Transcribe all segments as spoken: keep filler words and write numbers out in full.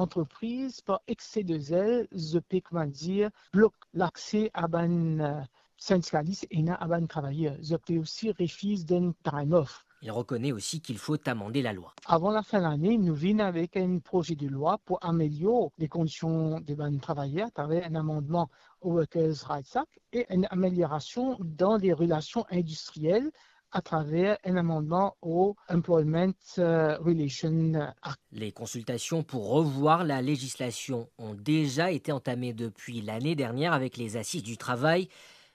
Lantrepriz, par ekse de zel, zot pe, kouma dir, blok lakse a bann, eh, sindikalis ena a bann travayer. Zot pe osi refiz donn time off. Il reconnaît aussi qu'il faut amender la loi. Avan lafin lane, nou vinn avek enn proze de lwa pou amelior lekondision de bann travayer atraver enn amandman au Workers' Rights Act e enn ameliorasion dan le relasion indistriel atraver enn amandman au Employment, euh, Relation Act. Les consultations pour revoir la législation ont déjà été entamées depuis l'année dernière avec les assises du travail.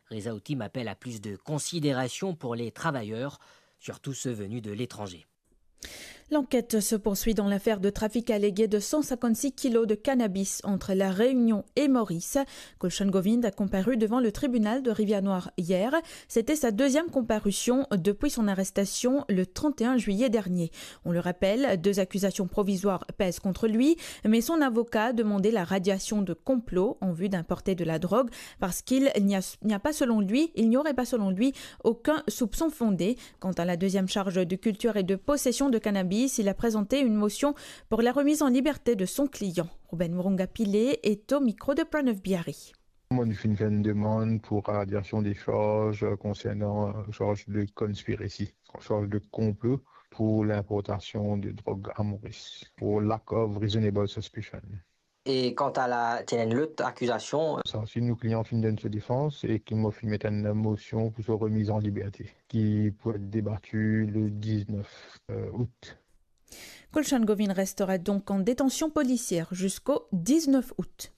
Reza Outim appelle à plus de considération pour les travailleurs, surtout ceux venus de l'étranger. L'enquête se poursuit dans l'affaire de trafic allégué de cent cinquante-six kilos de cannabis entre La Réunion et Maurice. Kulshan Govind a comparu devant le tribunal de Rivière-Noire hier. C'était sa deuxième comparution depuis son arrestation le trente et un juillet dernier. On le rappelle, deux accusations provisoires pèsent contre lui, mais son avocat a demandé la radiation de complot en vue d'importer de la drogue parce qu'il n'y a, n'y a pas selon lui, il n'y aurait pas selon lui aucun soupçon fondé. Quant à la deuxième charge de culture et de possession de cannabis, il a présenté une motion pour la remise en liberté de son client. Ruben Moronga Pillay est au micro de Pranav Bihari. Mwa, nou finn fer enn demann pou radiasion de charz konsernan, euh, charz de conspiracy, charz de konplo pou linportasion de drog a Moris, pou lack of reasonable suspicion. E kanta la, ti ena enn lot akizasion. Sa osi, nou klian finn donn so defans e ki mo finn met enn mosion pou so remiz an liberte, ki pou et debati le diznef, euh, out. Kulshan Govind restera donc en détention policière jusqu'au dix-neuf août.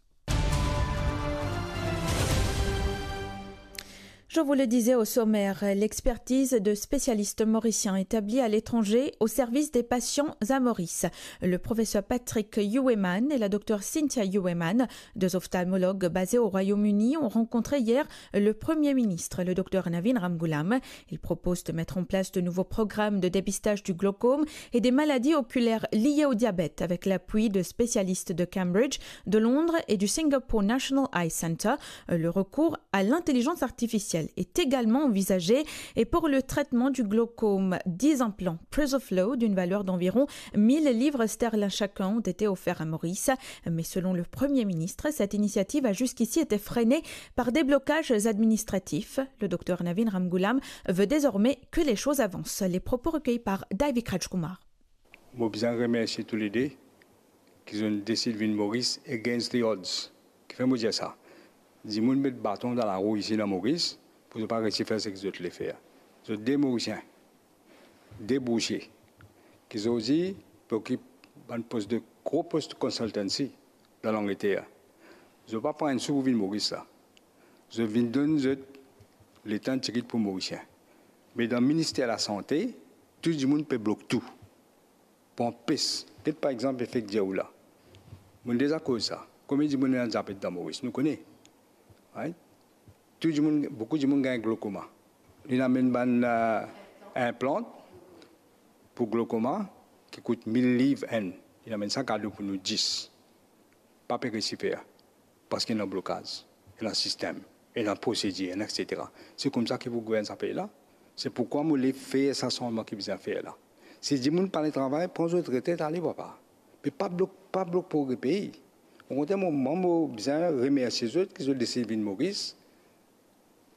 Je vous le disais au sommaire, l'expertise de spécialistes mauriciens établis à l'étranger au service des patients à Maurice. Le professeur Patrick Youweman et la docteure Cynthia Youweman, deux ophtalmologues basés au Royaume-Uni, ont rencontré hier le Premier ministre, le docteur Navin Ramgoolam. Il propose de mettre en place de nouveaux programmes de dépistage du glaucome et des maladies oculaires liées au diabète avec l'appui de spécialistes de Cambridge, de Londres et du Singapore National Eye Centre. Le recours à l'intelligence artificielle est également envisagé et pour le traitement du glaucome, dix implants Prisoflow d'une valeur d'environ mille livres sterling chacun ont été offerts à Maurice. Mais selon le Premier ministre, cette initiative a jusqu'ici été freinée par des blocages administratifs. Le docteur Navin Ramgoolam veut désormais que les choses avancent. Les propos recueillis par David Rajkumar. Mo bizin remersie toulede ki zot desid vinn Moris against the odds. Kifer mo dir sa? Dimoun met baton dan larou isi dan Moris pou zot pa resi fer seki zot le fer. Zot de Morisien, de bousie, ki zordi pe okip bann pos de, gro pos consultancy dan Langleter. Zot pa pran enn sou pou vinn Moris la. Zot vinn donn zot letan tigit pou Morisien. Me dan Minister Lasante, tou dimoun pe blok tou. Pou anpes, get par exanp efek dir ou la. Mo'nn deza koz sa. Konbien dimoun ena diabet dan Moris? Nou kone. Right? Tou dimoun, boukou dimoun gagn glokoma. Li amenn bann, euh, inplant pou glokoma ki kout mil liv enn. Li amenn sa kado pou nou dis. Pa pe resi fer. Parski ena blokaz, ena sistem, ena prosedir, ena et cetera. Se koumsa ki pou gouvern sa pei la. Se poukwa mo le fer sa sanzman ki bizin fer la. Si dimoun pa le travay, pran zot retret, ale papa. Me pa blok, pa blok progre pei. Okontrer, mo, mwa, mo bizin remersie zot ki zot desid vinn Moris.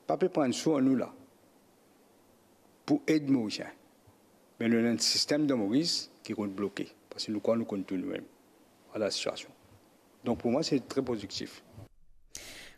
Pa pe pran sou nou la pou ed Morisien. Me nou ena enn sistem dan Moris ki konn bloke, parski nou krwar nou konn tou noumem. Vwala la sitiasion. Donk pou mwa, se tre pozitif.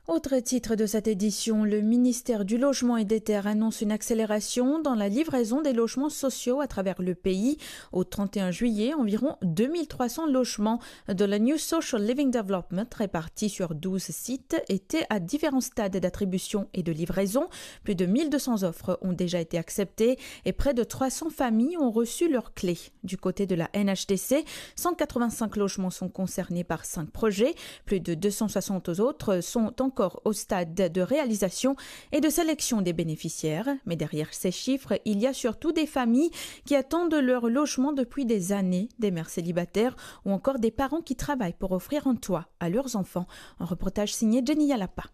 Autre titre de cette édition, le ministère du Logement et des Terres annonce une accélération dans la livraison des logements sociaux à travers le pays. Au trente et un juillet, environ deux mille trois cents logements de la New Social Living Development, répartis sur douze sites, étaient à différents stades d'attribution et de livraison. Plus de mille deux cents offres ont déjà été acceptées et près de trois cents familles ont reçu leurs clés. Du côté de la N H T C, cent quatre-vingt-cinq logements sont concernés par cinq projets. Plus de deux cent soixante autres sont encore au stade de réalisation et de sélection des bénéficiaires. Mais derrière ces chiffres, il y a surtout des familles qui attendent leur logement depuis des années, des mères célibataires ou encore des parents qui travaillent pour offrir un toit à leurs enfants. Un reportage signé Jenny Yalapa.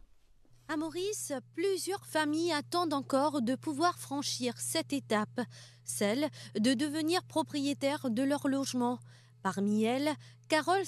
À Maurice, plusieurs familles attendent encore de pouvoir franchir cette étape, celle de devenir propriétaire de leur logement. Parmi elles, Carole